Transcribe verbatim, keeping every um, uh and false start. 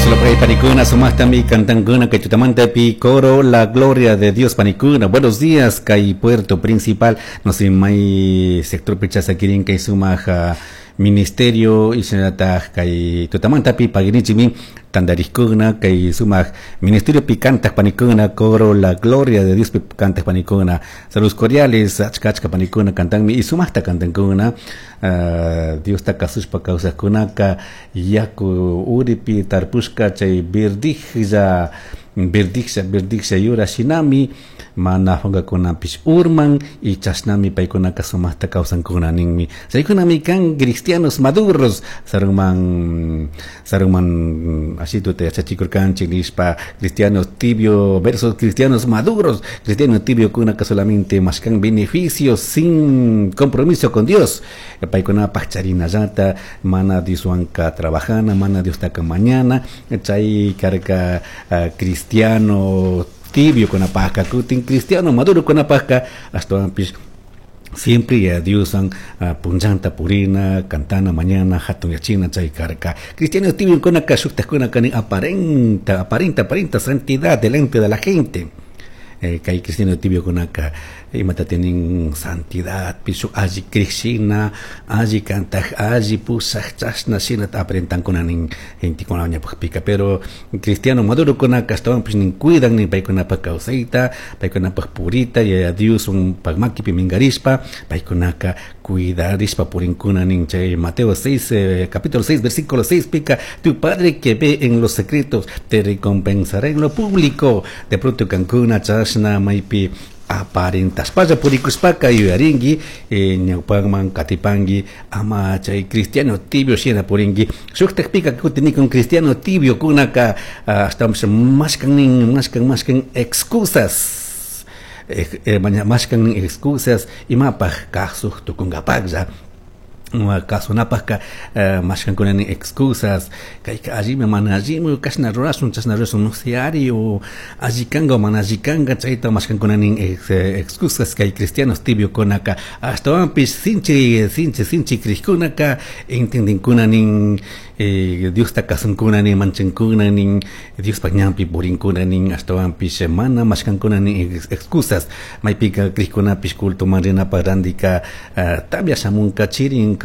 Solo panikuna, sumaktami cantankuna kay tutamantapi coro La Gloria de Dios panikuna. Buenos días, kay puerto principal, no sé, may sector pichasakirin kay sumak ministerio y shinallatak kay tutamantapi paginichimi tantarikkuna kay sumak ministerio pi cantak panikuna coro La Gloria de Dios pi cantak panikuna. Saludos cordiales, achka achka panikuna cantanmi y sumakta cantankuna. Uh, Diosta kasushpa kawsakkunaka yaku uripi tarpushka chay verdijlla verdijlla verdijlla yura shinami mana fungakunapish urman y chashnami paykunaka sumakta kawsankuna ninmi. Chaykunami kan cristianos maduros sarunman sarunman ashituta yachachikurkanchik nishpa cristianos tibio versus cristianos maduros. Cristiano tibio kunaka solamente mashkan beneficios sin compromiso con Dios. Paykunapaj charinallata mana Dioswanka trabajana, mana Diostaka mañana chay karka uh, cristiano tibio kunapajka kutin cristiano maduro kunapajka ashtawanpish siempre ya Dioswan uh, punllanta purina cantana mañana hatun yachina chay karka. Cristiano tibio kunaka shuktajkunaka nin aparenta aparenta aparenta santidad delante de la gente. Eh, kay cristiano tibio kunaka imata tienen santidad pisu alli krishina alli kantaj alli pusaj chashna shina aparentankuna nin gentekuna ñawpakpika. Pero cristiano maduro kunaka ashtawanpish nin cuidan nin paykunapak kawsayta, paykunapak purita Yaya Dioswan makipi minkarishpa paykunaka cuidarishpa purinkuna nin. Chay Mateo seis, eh, capítulo seis versículo seis pica: tu padre que ve en los secretos te recompensará en lo público. De pronto kankuna chashna maypi aparentashpalla purikushpaka yuyarinki, eh, ñawpakman katipanki ama chay cristiano tibio shina purinki. Shuktakpika kutin cristiano tibio kunaka ashtawanpish mashkan nin mashkan mashkan excusas, eh, eh, mashkan nin excusas imapaj kasuk tukunkapaklla kasunapajka uh, mashkankuna nin excusas kayka allimi mana allimi kashna rurashun chashna rurashun no sé ari o alli kanka o mana alli kanka chayta mashkankuna nin ex, excusas kay cristianos tibio kunaka. Ashtawanpish sinchi sinchi sinchi krikkunaka entendinkuna nin eh, Diosta kasunkuna nin manchankuna nin Diospaj ñanpi purinkuna nin ashtawanpish mana mashkankuna nin excusas. Maypika krikkunapish cultoman rinapaj randika uh, tamya shamunka chirin.